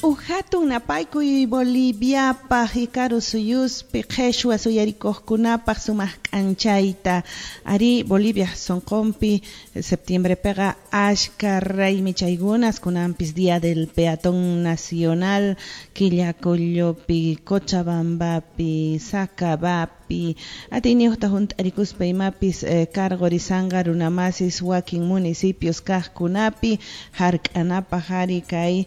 Uj hatun napaykuy Boliviapaj karu suyuspi qheshwa suyarikuqkunapaj sumaq k'anchayta. Ari Bolivia sonqonpi septiembrepiqa ashka raymi chaykunas kunanpis Día del Peatón Nacional Quillacollopi, Cochabambapi, Sacabapi, atiyniyuqta hunt'arikuspa imapis cargorisanqa runamasis wakin municipios kaqkunapi hark'anapaj ari kay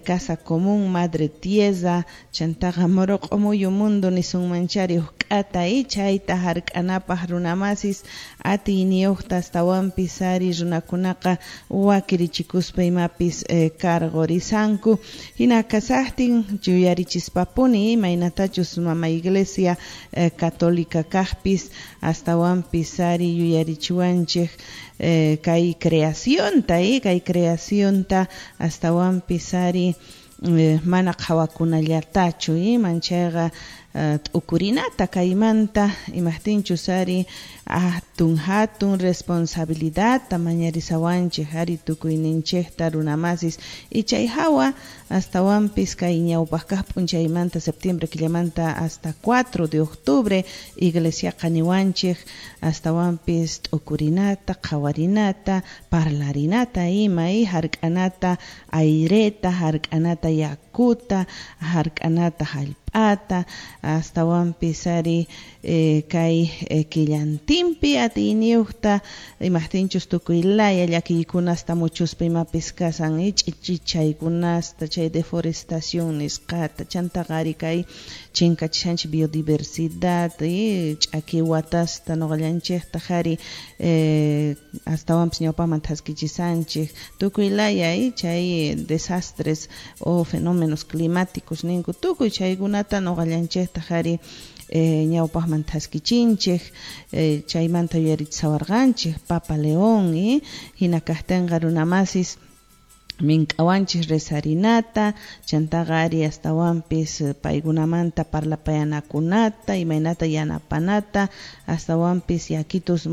Casa Común Madre Tierra chantaqa Moroq'omuyu mundo nisunmanchari uj k'ata chayta hark'anapaj runamasis atiyniyuqta astawanpis ari runakunaqa wakirichikuspa imapis cargorisanku. Hina kasaqtin yuyarichispapuni imaynatachus mama Iglesia Católica kaqpis astawanpis ari yuyarichiwanchej kay creacionta, kay creacionta astawanpis ari mana qhawakunallatachu manchayqa t'ukurinata kaymanta imajtinchus ari hatun hatun responsabilidadta mañarisawanchej ari tukuyninchejta runamasis y chay hawa astawanpis kay ñawpaq kaq p'unchaymanta septiembre killamanta hasta 4 de octubre iglesiaqa niwanchej astawanpis t'ukurinata qhawarinata parlarinata ima hark'anata aireta hark'anata yakuta hark'anata hallp'ata astawanpis ari kay killantinpi atiyniyuqta imajtinchus tukuy laya llakiykunasta muchuspa imapis kasan ch'ichichaykunasta chay deforestación nisqata chantaqa ari kay chinkachishanchik biodiversidad ch'aki watasta nuqallanchejtaj ari astawanpis ñawpaqman thaskichisanchik tukuy laya chay desastres o fenómenos climáticos ninku tukuy chaykunata nuqallanchejtaj ari ñawpaqman thaskichinchej chaymanta yuyarichisawarqanchej Papa León hina kaqtinqa runamasis mink'awanchik rezarinata chantaqa ari astawanpis paykunamanta parlapayanakunata imaynata yanapanata astawanpis yakitus.